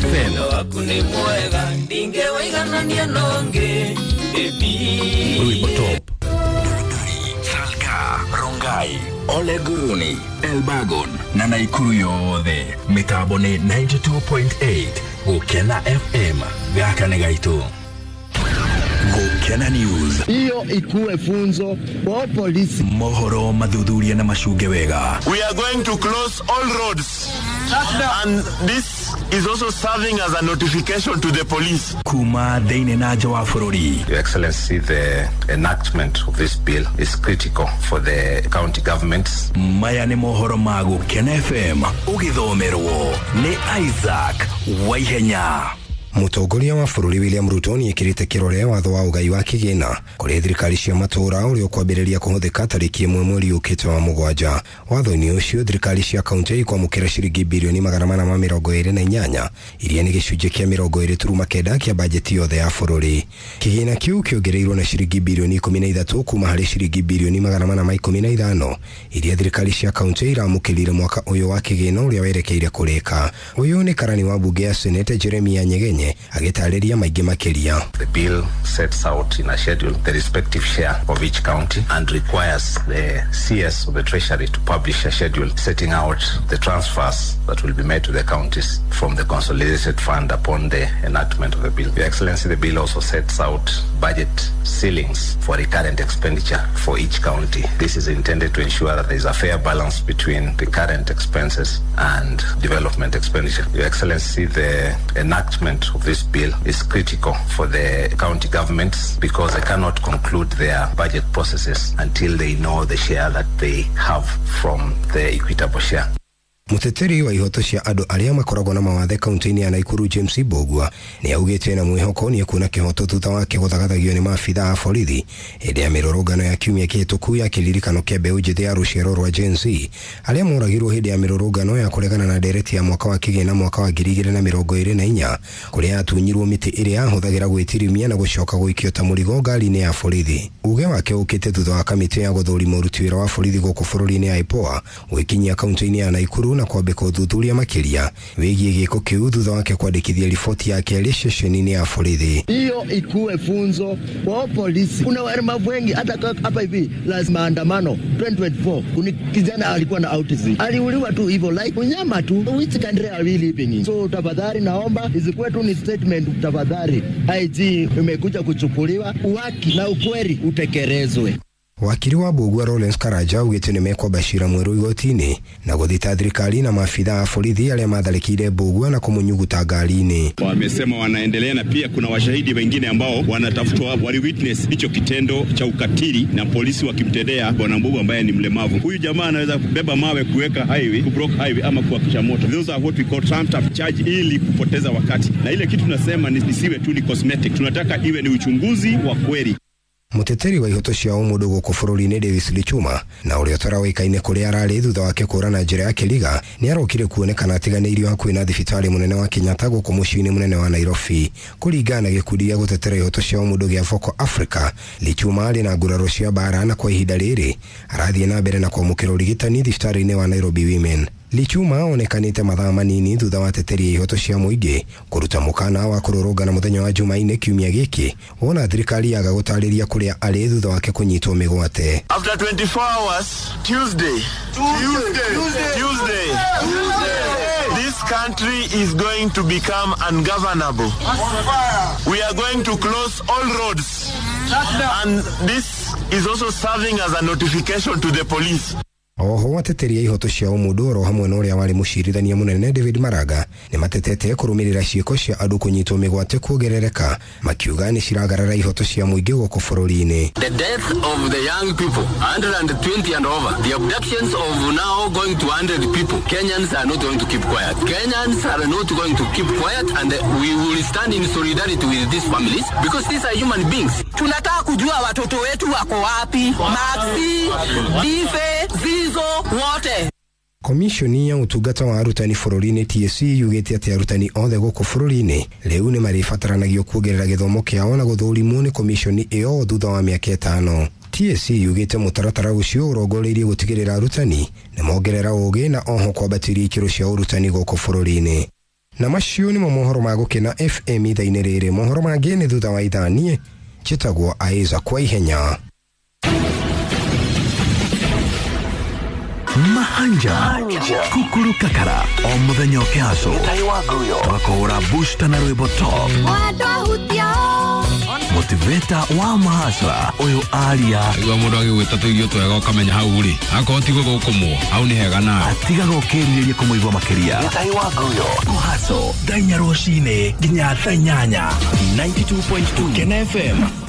FM. Waku nĩ mwega ndingĩwaiganania nongi. Rwimbo top. Salga, Rongai, Ole Guruni, Elbagon na Naikuru yothe. Mitambo ni 92.8 Gukena FM. Gaka nĩ gaitũ. Gukena News. Hiyo ikuwe funzo kwa polisi. Mohoro mathuthuria na macunge wega. We are going to close all roads. And this is also serving as a notification to the police. Kuma thĩinĩ na nja wa bũrũri. Your Excellency, the enactment of this bill is critical for the county governments. Maya nĩ mohoro ma Gukena FM ũgĩthomerwo nĩ Isaac Waihenya. Mũtongoria wa bũrũri William Ruto nĩekĩrĩte kĩrore watho wa ũgai wa kĩgĩna kũrĩ thirikari cia matũũra ũrĩa ũkwambĩrĩria kũhũthĩka tarĩki 1 mweri ũkĩte wa 7. Watho-inĩ ũcio thirikari cia kaunti ikwamũkĩra ciringi birioni 428 iria nĩ gĩcunjĩ kĩa 29.9 kĩa bajeti yothe ya bũrũri. Kĩgĩna kĩu kĩongereirwo na ciringi birioni 13 kuma harĩ ciringi birioni 415 iria thirikari cia kaunti iramũkĩrire mwaka ũyũ wa kĩgĩna ũrĩa werekeire kũrĩka. Ũyũ nĩ karani wa mbunge ya Senate Jeremiah Nyegenye agĩtarĩria maingĩ makĩria. The bill sets out in a schedule the respective share of each county and requires the CS of the Treasury to publish a schedule setting out the transfers that will be made to the counties from the consolidated fund upon the enactment of the bill. Your Excellency, the bill also sets out budget ceilings for recurrent expenditure for each county. This is intended to ensure that there is a fair balance between the current expenses and development expenditure. Your Excellency, the enactment of this bill is critical for the county governments because they cannot conclude their budget processes until they know the share that they have from the equitable share. Mũteteri wa ihoto cia andũ arĩa makoragwo na mawathe kaunti-inĩ ya Naikuru James Mbugua nĩ augĩte na mwĩhoko nĩ ekuona kĩhoto thutha wake gũthagathagio nĩ maabitha a borithi hĩndĩ ya mĩrũrũngano ya kiumia kĩhĩtũku ya kĩririkano kĩa mbeũ njĩthĩ ya rũciaro rwa Gen Z arĩa moragirwo hĩndĩ ya mĩrũrũngano ya kũregana na ndereti ya mwaka wa kĩgĩna mwaka wa 2024 kũrĩa atunyirwo mĩtĩ ĩrĩa ahũthagĩra gwĩtirimia na gũcoka gũikio ta mũrigo ngari-inĩ ya borithi. Uge wake ũkĩte thutha wa kamĩtĩ ya gũthũrima ũruti wĩra wa borithi gũkũ bũrũri-inĩ ya IPOA gwĩkinyia kaunti-inĩ ya Naikuru na kwambĩka ũthuthuria makĩria wĩgiĩ gĩko kĩu thutha wake kwandĩkithia riboti ya kerĩ ceceni-inĩ ya borithi. Hiyo ikuwe funzo kwa polisi. Kuna walemavu wengi hata hapa hivi la maandamano 2024 kuna kijana alikuwa na autism aliuliwa tu hivyo like unyama tu. Which country are we living in? So tafadhali naomba isikuwe tu ni statement, tafadhali IG imekuja kuchukuliwa, uwaki na ukweli utekelezwe. Wakiri wa Mbugua Lawrence Karanja augĩte nĩ mekwamba cira mwerũ igoti-inĩ na gũthita thirikari na maabitha a borithi arĩa matharĩkĩire Mbugua na kũmũnyuguta ngari-inĩ. Wamesema wanaendelea na pia kuna washahidi wengine ambao wanatafutwa, wali witness hicho kitendo cha ukatili na polisi wakimtendea bwana Mbugua ambaye ni mlemavu. Huyu jamaa anaweza kubeba mawe kuweka highway, kublock highway ama kuwakisha moto. Those are what we call trumped up charge ili kupoteza wakati. Na ile kitu tunasema ni isiwe tu ni cosmetic. Tunataka iwe ni uchunguzi wa kweli. Mũteteri wa ihoto cia ũmũndũ gũkũ bũrũri-inĩ Davis Lichuma na ũrĩa ũtarawĩkaine kũrĩa ararĩ thutha wake kũra na njĩra ya kĩriga nĩ arokire kuonekana atiganĩirio hakuhĩ na thibitarĩ mũnene wa Kenyatta gũkũ mũciĩ-inĩ mũnene wa Nairobi. Kũringana na gĩkundi gĩa gũtetera ihoto cia ũmũndũ gĩa Vocal Africa, Lichuma arĩ na nguraro cia mbara na kwa ihinda rĩrĩ arathiĩ na mbere na kwamũkĩra ũrigitani thibitarĩ-inĩ wa Nairobi Women. Lichuma onekanĩte mathaa manini thutha wa teteri ya ihoto cia mũingĩ kũruta mũkana wa kũrũrũngana mũthenya wa Jumaine kiumia gĩkĩ wona thirikari yaga gũtarĩria kũrĩa arĩ thutha wake kũnyitwo mĩgwate. After 24 hours, Tuesday, this country is going to become ungovernable. We are going to close all roads. And this is also serving as a notification to the police. Oho ateteri a ihoto cia ũmũndũ oro hamwe na ũrĩa warĩ mũcirithania mũnene David Maraga nĩ matetete kũrũmĩrĩra ciĩko cia andũ kũnyitwo mĩgwate kuongerereka makiuga nĩ ciragarara ihoto cia mũingĩ gũkũ bũrũri-inĩ. The death of the young people, 120 and over, the abductions of now going to 100 people. Kenyans are not going to keep quiet. Kenyans are not going to keep quiet and we will stand in solidarity with these families because these are human beings. Tunataka kujua watoto wetu wako wapi, Maxi, Dife, Zizo, wote. Komishoni ya ũtungata wa arutani bũrũri-inĩ TSC yugĩte atĩ arutani othe gũkũ bũrũri-inĩ rĩu nĩ marĩbataranagio kuongerera gĩthomo kĩao na gũthũrimwo nĩ komishoni ĩyo thutha wa mĩaka 5. TSC yugĩte mũtaratara ũcio ũrongoreirie gũtigĩrĩra arutani nĩ mongerera ũgĩ na oho kwambatĩria ikĩro cia ũrutani gũkũ bũrũri-inĩ. Na macio nĩmo mohoro ma Gũkena FM ithaa-inĩ rĩrĩ. Mohoro mangĩ nĩ thutha wa ithaa. Niĩ njĩtagwo Aiza kwa ihenya. Mahanja Kukuru Kakara o muthenya ũkĩhacwo tũgakũhũra booster na rwĩmbo top motiveta wa mahasra ũyũ aria. Igua mũndũ agĩgwĩta tũirio twega ũkamenya hau rĩ akorwo ti gũthũkũmwo hau nĩ hega nawe. Atigaga ũkĩrirĩria kũmũigua makĩria. Kũhaco thaa 4 rũcinĩ nginya thaa 8, 92.2 Kena FM.